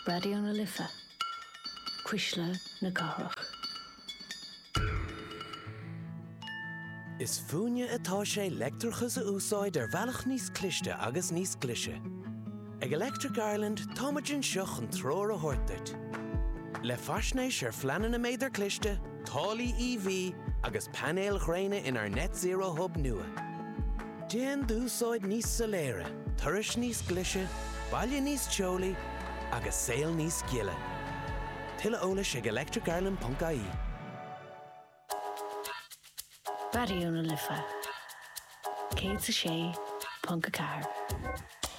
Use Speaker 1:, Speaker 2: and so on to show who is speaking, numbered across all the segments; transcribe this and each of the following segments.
Speaker 1: Raidió na Life, Cuisle na Cathrach.
Speaker 2: Is fúinne atá sé leictreachas a úsáid ar bhealach níos cliste agus níos glaise. Ag Electric Ireland táimid anseo chun treoir a thabhairt duit. Le faisnéis ar phleananna méadar cliste, táillí EV agus painéil ghréine inár Net Zero Hub nua. Déan d'úsáid níos soiléire, turais níos glaise, baile níos teolaí agus saol níos gile. Tuilleadh eolais ag electricireland.ie.
Speaker 1: Raidió na Life 106.4.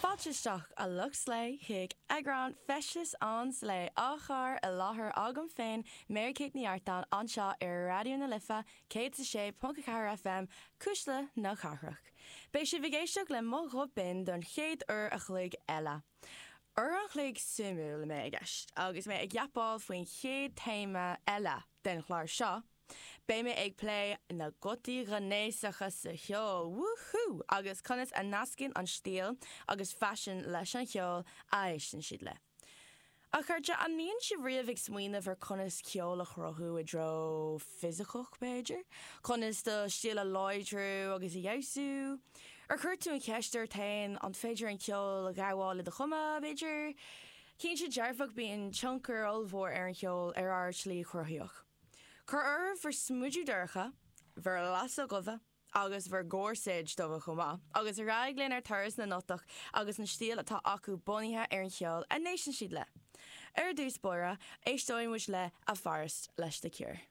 Speaker 3: Fáilte isteach a lucht slé chuig eagrán Feisteas an Slé á chur i láthair agam féin Mary Kate Ní Artáin anseo ar Raidió na Life 106.4 FM, Cuisle na Cathrach. Beidh sibh ag éisteacht le mo ghuth binn don chéad uair a chloig eile. Uair an chloig suimiúil a mbeidh i gceist agus mé ag yapáil faoin chéad téama eile den chlár seo, beidh mé ag plé na gutaí gnéasacha sa cheol, woohoo! agus conas a nascann an stíl agus faisean leis an cheol a éisteann siad le. A chairde, an mbíonn sibh riamh ag smaoineamh ar conas ceol a chruthú i dtreo fisiceach, b'fhéidir? Conas do stíl a láidriú agus a fheabhsú? Ar chuir tú an cheist ort féin an féidir an ceol a ghabháil i do chumadh, b'fhéidir? Cinnte dearfach bíonn tionchar ollmhór ar an cheol ar ár slí chruthaíoch. Cuir oraibh bhur smideadh dorcha, bhur lasair dhubha, agus bhur gcórsaeid dubha chomh maith, agus ar aghaidh linn ar turas na nGotach agus an stíl atá acu bunaithe ar an cheol a n-éisteann siad le. Ar dtús báire, éisteoidh muid le A Forest leis The Cure.